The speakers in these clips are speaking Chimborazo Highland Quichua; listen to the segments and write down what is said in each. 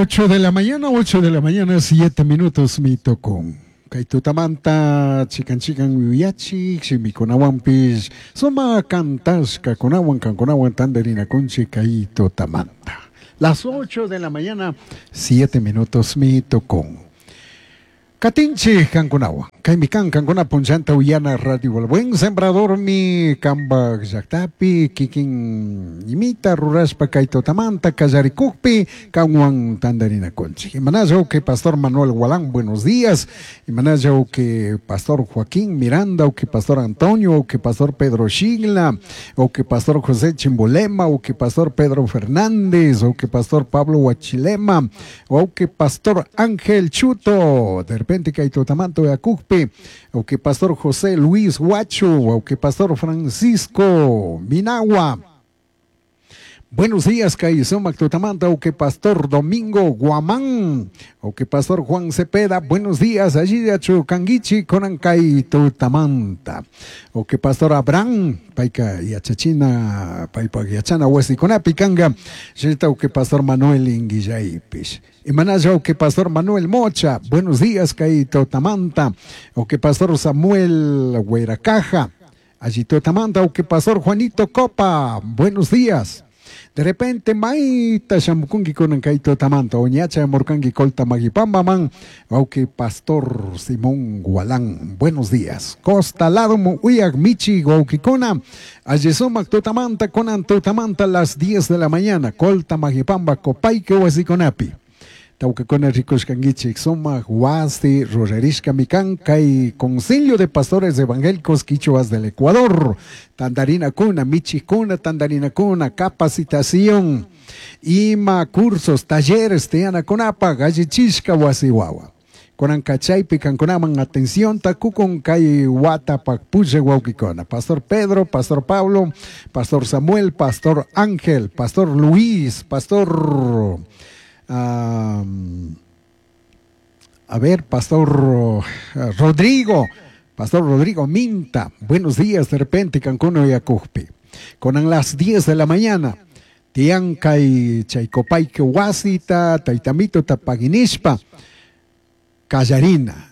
8 de la mañana, 8 de la mañana, 7 minutos mi tocón. Kay tutamanta chikan chikan yuyachik shimikunawanpish suma kantashkakunawan kankunawan tantarinakunchik kay tutamanta. Las 8 de la mañana, 7 minutos mi tocón. Katinchik kankunawan. Kaymi kan kankuna punchanta uyana Radio El Buen Sembrador mi kambak llaktapi kikin imita rurashpa kay tutamanta kallarikukpi kanwan tantarinakunchik. Imanalla que Pastor Manuel Gualán, buenos días. Imanalla que Pastor Joaquín Miranda, o que Pastor Antonio, o que Pastor Pedro Shigla, o que Pastor José Chimbolema, o que Pastor Pedro Fernández, o que Pastor Pablo Huachilema, o que Pastor Ángel Chuto, de repente kay tutamanta yakukpi, o que Pastor José Luis Huacho, o que Pastor Francisco Minagua. Buenos días, kay sumak tutamanta, o que Pastor Domingo Guamán, o que Pastor Juan Cepeda, buenos días, allí de Kanguichi, kunan kay tutamanta, o que Pastor Abraham, payka yachachina, paypa yachana wasikunapi kanga, shinata o que Pastor Manuel Inguillaypish. Imanalla o que Pastor Manuel Mocha, buenos días, kay tutamanta, o que Pastor Samuel Hueracaja, allí tutamanta, o que Pastor Juanito Copa, buenos días. De repente, maita shamukunki kunan kay tutamanta, oñacha murkanki colta magipambaman, auque Pastor Simón Gualán, buenos días. Costa lado uyak michi guauquicona, allisumac tutamanta, kunan tutamanta las 10 de la mañana, colta magipamba, copaique huasiconapi. Tauquecona rikushkankichik sumak wasi rurarishka mikan kay Concilio de Pastores Evangélicos Quichuas del Ecuador. Tandarina kuna, michikuna, tandarina kuna, capacitación, ima cursos, talleres, tiyanakunapa, gallichishka wasi wawa. Kunan kachaypi kankunaman atención takukun kay watapak pulla wawkikuna. Pastor Pedro, Pastor Pablo, Pastor Samuel, Pastor Ángel, Pastor Luis, Pastor... a ver, Pastor Rodrigo, Pastor Rodrigo Minta, buenos días de repente, Cancuno y Acujpi. Con las 10 de la mañana, Tiancay, Chaicopaique, Huasita, Taitamito, Tapaguinishpa, Callarina,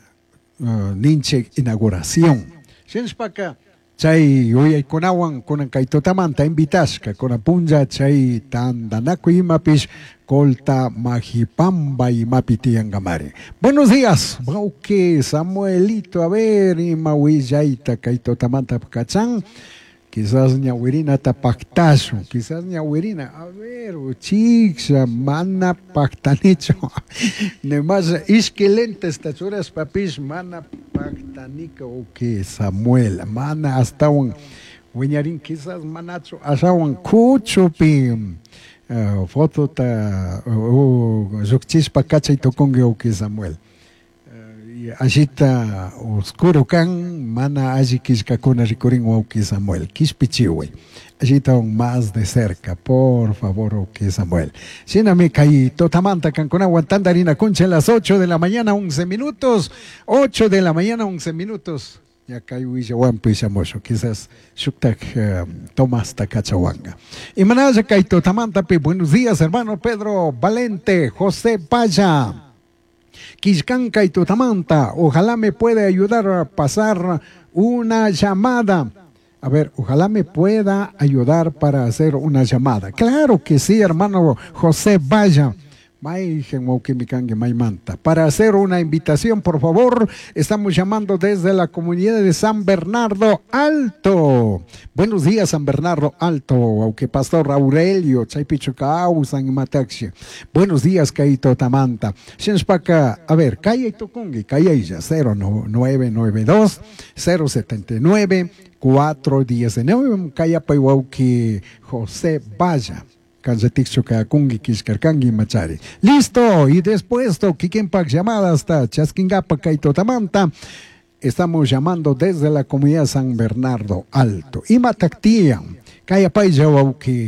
Ninche, inauguración. Shinshpaka, chay uyaykunawan kunan kay tutamanta invitashka kunan punlla chay tantanakuy imapish colta majipamba imapi tiyankamari. Buenos días, wawqi Samuelito, a ver, ima willayta kay tutamanta kachan. Quizás ñawirinata pactashun, quizás ñawirina, a ver, uchiksha, mana pactanicho. Nemas ishki lentes tachuras papish, mana pactanika uki Samuel, mana astawan wiñarin quizás manachu ashawan kuchupi fotota llukchishpa kachay tukunki uki Samuel. Allita oscuro kan, mana alli killkakuna rikurin wawqi Samuel, kishpichiway. Allita aún más de cerca, por favor, wawqi Samuel. Shinami kay tutamanta kankunawan tantarinakunchik a las 8 de la mañana, 11 minutos. 8 de la mañana, 11 minutos. Ya kay willawanpi shamusho, quizás shuktak Tomás Takachawanga. Y manaya kay tutamantapi, buenos días, hermano Pedro Valente, José Paya. Quiscanca y Tutamanta, ojalá me pueda ayudar a pasar una llamada. A ver, ojalá me pueda ayudar para hacer una llamada. Claro que sí, hermano José Vaya. Para hacer una invitación, por favor, estamos llamando desde la comunidad de San Bernardo Alto. Buenos días, San Bernardo Alto, aunque Pastor Aurelio, Chaypichucau, San Mataxi. Buenos días, Kaito Tamanta. Shinshpaka, a ver, Kaya Tukungi, Kaya 0992 079 419, Kaya Paiwauki José Vaya. Machari. Listo, y después Kikenpak llamada hasta Chasquingapa, Kaito Tamanta. Estamos llamando desde la comunidad San Bernardo Alto. Y Matactía, Kayapay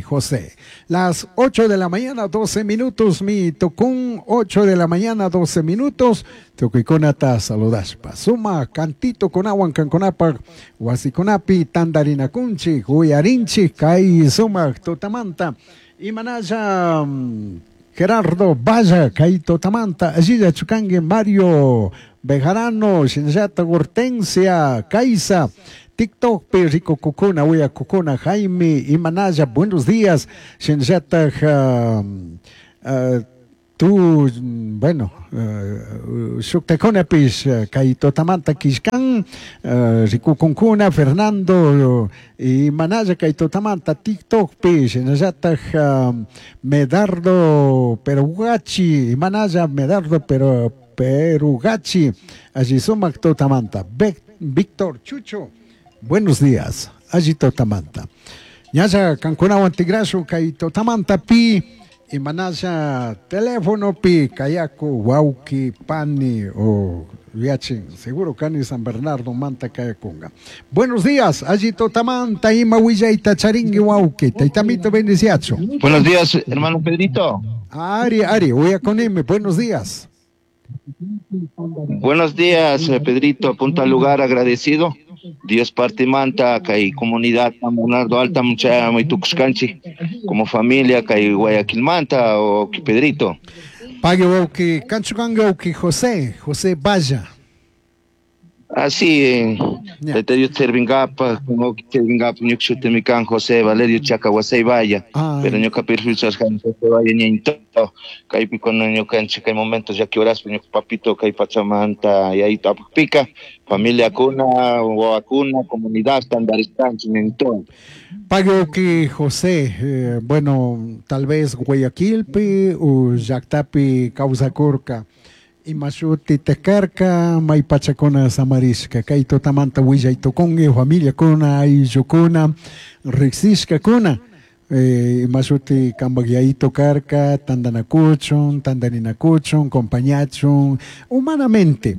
José. Las 8 de la mañana, 12 minutos, mi tocún, 8 de la mañana, 12 minutos. Tukuikunata saludashpa. Suma cantito kunawan kankunapa, wasikunapi, tandarinakunchi, huyarinchi, kay suma tutamanta. Imanalla Gerardo Valla, kay tutamanta, allilla chukangi Mario Bejarano, shinallata Hortensia, Kaisa, TikTok pi rikukukuna, uyakukuna, Jaime Imanaya, buenos días, shinallata tu, bueno, shuktakunapish kay tutamanta kishkan, rikukunkuna, Fernando Imanaya kay tutamanta TikTokpi, shinallatak Medardo Perugachi, Imanaya Medardo Perugachi, alli sumak tutamanta, Víctor Chucho, buenos días, alli tutamanta. Ñalla kankunawan tigrashu kay tutamanta pi, Imanaya teléfono pi kayaku wauki pani o yachin seguro kani San Bernardo manta kayakunga. Buenos días, allí totamanta ima willayta charingui wauki, taitamito bendiciacho. Buenos días, hermano Pedrito. Ari, Ari, uyakonime, buenos días. Buenos días, Pedrito, punto al lugar agradecido. Dios parte manta, kay comunidad San Bernardo Alta, mucha muy tucuscanchi, como familia, kay Guayaquil manta, o Pedrito. Pague wauki, kanchukanga wauki José, José Valla. Así, te Dios servingapa, como servingapa, ñuksutemican José Valerio Chacahuasay Valla, pero ñuka perfil José Valla ñainto, kaypi con ñukanchik kay momentos ya que horas ñuka papito kay pachamanta y ahí pica, familia kuna, wawakuna, comunidad estandarizanchi ñainto. Pague que José, bueno, tal vez Guayaquilpi o llaqtapi kawsakurka. Imashuti tekarka, maypachakuna samarishka, kay tutamanta willaytukunki, familiakuna, ayllukuna, riqsishkakuna, imashuti kanpak yayito karka, tantanakuchun, tantarinakuchun, compañachun, humanamente,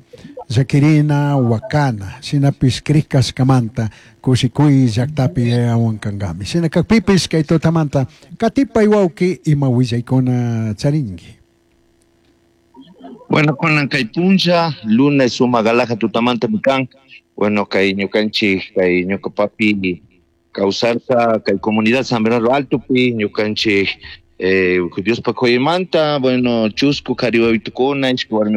llakirina, wakana, shinapish krikashkamanta, kushikuy llaqtapi yayawan kankami. Shina kakpipish kay tutamanta, katipay wawki ima willaykuna charinki. Bueno, con kay puncha, lunes suma galaja tutamanta mikan, bueno, kay ñukanchik, kay ñuka papi kawsarka, kay comunidad San Bernardo Alto pi, ñukanchik, Dios pakoymanta, bueno, chusku kariwawitukuna, ishki warmi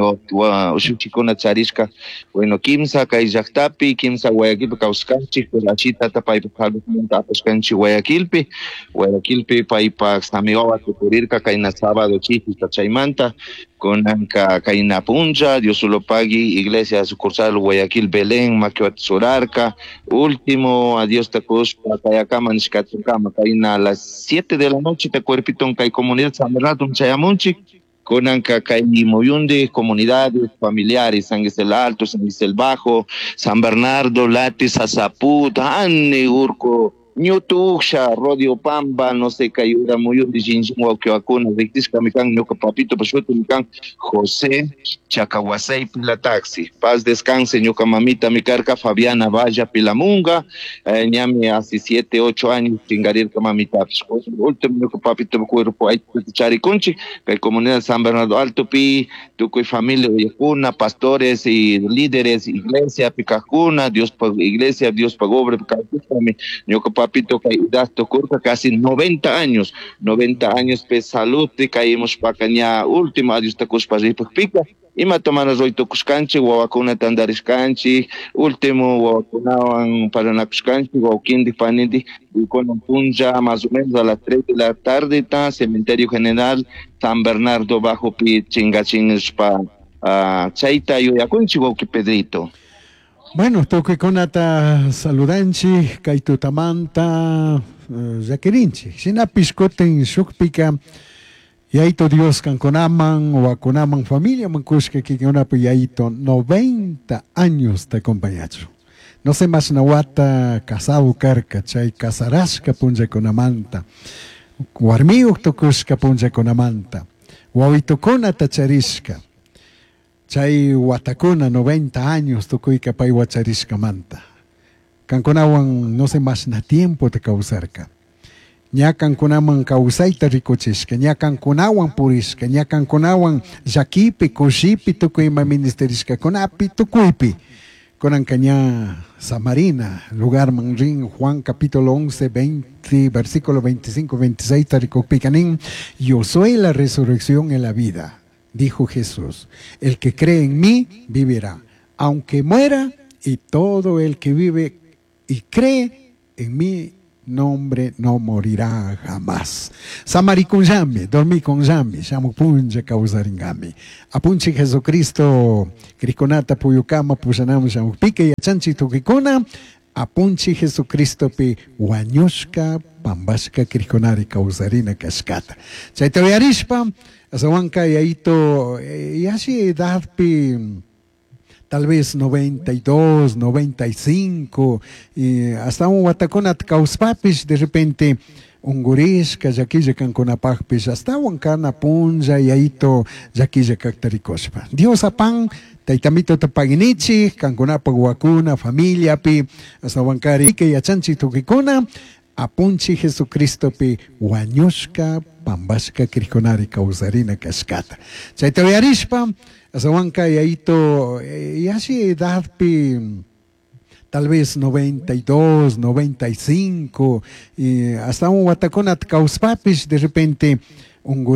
ushuchikuna charishka, bueno, kimsa kay llaqtapi, kimsa Guayaquilpi kawskanchik, pero ashita paypak saludmanta apashkanchik Guayaquilpi, Guayaquilpi paypak samiwawa tukurirka kayna sábado chishi chaymanta, kunanka kayna puncha, Dios solo pagui, iglesia sucursal Guayaquil Belén, makiwat surarka, último, adiós takushpa, kayakama nishkatukama, kayna a las 7 de la noche te cuerpito kay comunidad San Bernardo chayamunchik, kunanka kay muyundi, comunidades familiares, San Gisel Alto, San Gisel Bajo, San Bernardo, Latis, Azaput, Anne, Urco, Ñutuksha, Rodio Pamba, no sé, Kayura, Muyundi, Jinjin, Waukiwakuna, Rictisca, Mikan, Ñuka Papito, Pashuto, Mikan, José, Chacahuasay, Pila Taxi, paz descanse, Ñuka Mamita, Micarca, Fabiana Valla, Pilamunga, ñami hace 7, 8 años, chingarirca mamita, último, Ñuka Papito, cuerpo, hay Chariconchi, que comunidad San Bernardo Alto, Pi, Tucuy familia, Uyacuna, pastores y líderes, iglesia, Picajuna, Dios pagó, iglesia, Dios pagó, Picajuna, Ñuka Papito, curca casi 90 años, 90 años, pe salud, te caímos pa caña, último, adiós, tacos pa pica, ima tomana roito cuscanchi, wawakuna tandariscanchi, último, wawakunawan paranakuscanchi, wawkindi, panindi, y con un punja más o menos a las 3 de la tarde, ta, Cementerio General, San Bernardo Bajo, pi, chingachin, pa, chaita, yuyakunchi, wawki Pedrito. Bueno, tukuy-kunata saludanchik, kay tutamanta llakirinchik. Shinapish kutin shukpika, yayito Dios kankunaman, wakunaman, familiaman kushka kikinkunapi yayito 90 años te acompañachu. No sé más nawata casado karka, chay casarashka punllakunamanta, warmiyuq tukushka punllakunamanta, wawitukunata charishka. Chay watakuna 90 años tukuyka pay wacharishkamanta. Kankunawan no sé más na tiempo te kawsarka. Ña kankunaman kawsayta rikuchishka, ña kankunawan purishka, ña kankunawan llakipi, kushipi, tukuy ima ministerishkakunapi, tukuypi. Kunanka ña Samarina lugarman rin Juan capítulo 11, 20, versículo 25, 26 rikukpika nin, yo soy la resurrección y la vida, dijo Jesús. El que cree en mí vivirá, aunque muera, y todo el que vive y cree en mí nombre no morirá jamás. Samarikunllami, dormikunllami, shamupunlla kawsaringami. Apunchik Jesucristo, krikunata puyukama pushanam shamukpika yachanchik tukikuna, apunchik Jesucristopi wañushka pambashka krikunari kawsarina kashkata. Chayta uyarishpa, asawanka yayito, yashi edadpi tal vez 92, 95, y hasta un watakunata kawspapish de repente ungurishka llaquilla kankunapakpish astawan kana punlla yayito llaquilla kakta rikushpa. Dios apan taytamituta paginichik kankunapak wakuna familiapi astawankari yachanchik tukikuna apunchik Jesucristopi wañushka pambashka krikunari kawsarina kashkata. Chayta uyarishpa asawanka yayito yashi edadpi tal vez 92, 95, y hasta un watakunata kawspapish de repente ungur.